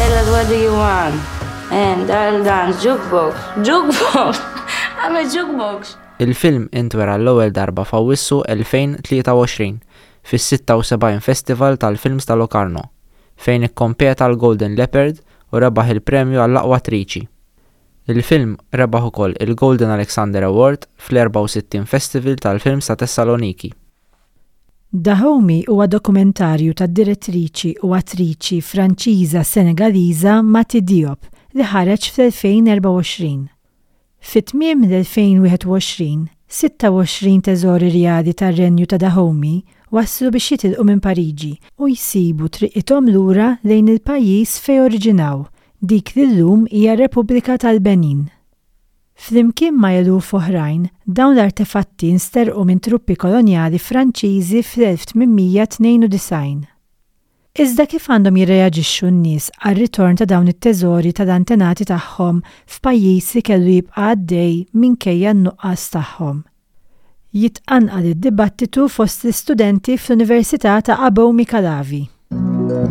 Tell us what do you want. And I'll dance jukebox. Jukebox. I'm a jukebox. Il-film intwera l-ewwel darba f'Awwissu 2023 fis-76 Festival tal-Films ta' Locarno, fejn ikkompeta għall-Golden Leopard u rebaħ il-premju għall-aqwa attriċi. Il-film rebaħ ukoll il-Golden Alexander Award fl-64 Festival tal-Films ta' Tessaloniki. Dahomey huwa dokumentarju tad-direttriċi u attriċi Franċiża-Senegaliża Mati Diop li ħareġ fl-2024. Fi tmiem l-2021, 26 teżor irjali tar-Renju ta' Dahomey waslu biex jitilqu minn Pariġi u jsibu triqithom lura lejn il-pajjiż fejn oriġinaw, dik li llum hija r-Repubblika tal-Benin. Flimkien ma' eluf oħrajn, dawn l-artefatti nsterqu minn truppi kolonjali Franċiżi fl-1892. Iżda kif għandhom jirreaġixxu n-nies għar-ritorn ta' dawn it-teżori tal-antenati tagħhom f'pajjiż li kellu jibqa' għaddej minkejja n-nuqqas tagħhom? Jitqanqal id-dibattitu fost l-istudenti fl-Università ta' Abomey Calavi.